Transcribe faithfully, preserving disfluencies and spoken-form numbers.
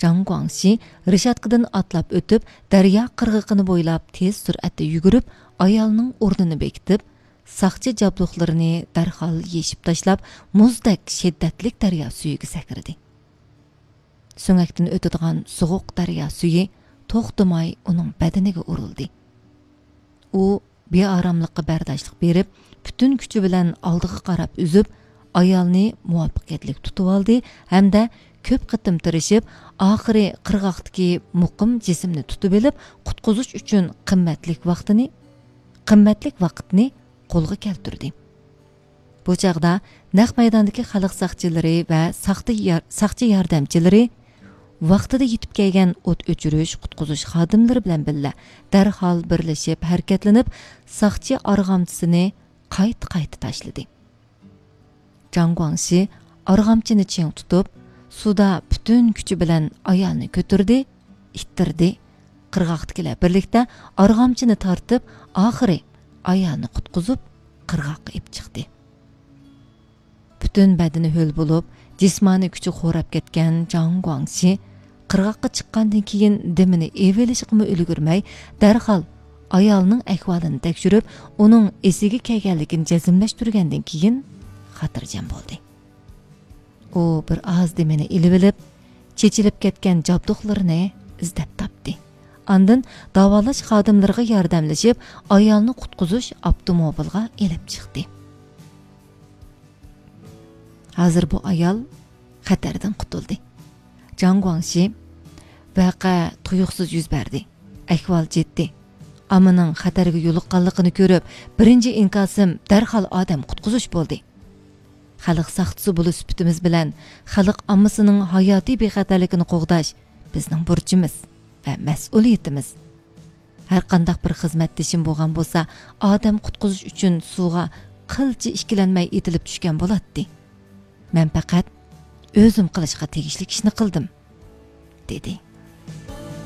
جاڭ گۇاڭشى رېشاتكىدىن ئاتلاپ ئۆتۈپ، دەريا قىرغىقىنى بويلاپ تېز سۈرئەتتە يۈگۈرۈپ، ئايالنىڭ ئورنىنى بېكىتىپ، ساقچى جابدۇقلىرىنى دەرھال يېشىپ تاشلاپ، مۇزدەك شىددەتلىك دەريا سۈيىگە سەكرىدى. سۆڭەكتىن ئۆتىدىغان سوغۇق دەريا سۈيى توختىماي ئۇنىڭ بەدىنىگە ئۇرۇلدى. ئۇ بىئاراملىققا بەرداشلىق بېرىپ، پۈتۈن كۈچى بىلەن ئالدىغا قاراپ ئۈزۈپ، ئايالنى مۇۋەپپەقىيەتلىك تۇتۇۋالدى ھەمدە كۆپ قېتىم تىرىشىپ، ئاخىرى قىرغاقتىكى مۇقىم جىسىمنى تۇتۇۋېلىپ، قۇتقۇزۇش ئۈچۈن قىممەتلىك ۋاقتىنى، قىممەتلىك ۋاقىتنى قولغا كەلتۈردى. بۇ چاغدا نەق مەيداندىكى خەلق ساقچىلىرى ۋە ساقتى يار-، ساقچى ياردەمچىلىرى ۋاقتىدا يېتىپ كەلگەن ئوت ئۆچۈرۈش، قۇتقۇزۇش خادىملىرى بىلەن بىللە دەرھال بىرلىشىپ ھەرىكەتلىنىپ، ساقچى ئارغامچىسىنى قايتا-قايتا تاشلىدى. جاڭ گۇاڭشى ئارغامچىنى چىڭ تۇتۇپ، سۇدا پۈتۈن كۈچى بىلەن ئايالنى كۆتۈردى، ئىتتىردى. قىرغاقتىكىلەر بىرلىكتە ئارغامچىنى تارتىپ، ئاخىرى ئايالنى قۇتقۇزۇپ، قىرغاققا ئېلىپ چىقتى. پۈتۈن بەدىنى ھۆل بولۇپ، جىسمانىي كۈچى خوراپ كەتكەن جاڭ گۇاڭشى قىرغاققا چىققاندىن كېيىن دېمىنى ئېلىۋېلىشقىمۇ ئۈلگۈرمەي، دەرھال ئايالنىڭ ئەھۋالىنى تەكشۈرۈپ، ئۇنىڭ ئېسىگە كەلگەنلىكىنى جەزملەشتۈرگەندىن كېيىن خاتىرجەم بولدى. ئۇ بىر ئاز دېمىنى ئېلىۋېلىپ، چېچىلىپ كەتكەن جابدۇقلىرىنى ئىزدەپ تاپتى. ئاندىن داۋالاش خادىملىرىغا ياردەملىشىپ، ئايالنى قۇتقۇزۇش ئاپتوموبىلغا ئېلىپ چىقتى. ھازىر بۇ ئايال خەتەردىن قۇتۇلدى. جاڭ گۇاڭشى، ۋەقە تۇيۇقسىز يۈز بەردى. ئەھۋال جىددىي. ئاممىنىڭ خەتەرگە يولۇققانلىقىنى كۆرۈپ، بىرىنچى ئىنكاسىم دەرھال ئادەم قۇتقۇزۇش بولدى. خەلق ساقچىسى بولۇش سۈپىتىمىز بىلەن خەلق ئاممىسىنىڭ ھاياتىي بىخەتەرلىكىنى قوغداش بىزنىڭ بۇرچىمىز ۋە مەسئۇلىيىتىمىز. ھەرقانداق بىر خىزمەتدىشىم بولغان بولسا، ئادەم قۇتقۇزۇش ئۈچۈن سۇغا قىلچە ئىككىلەنمەي ئېتىلىپ چۈشكەن بولاتتى. مەن پەقەت ئۆزۈم قىلىشقا تېگىشلىك ئىشنى قىلدىم، دېدى.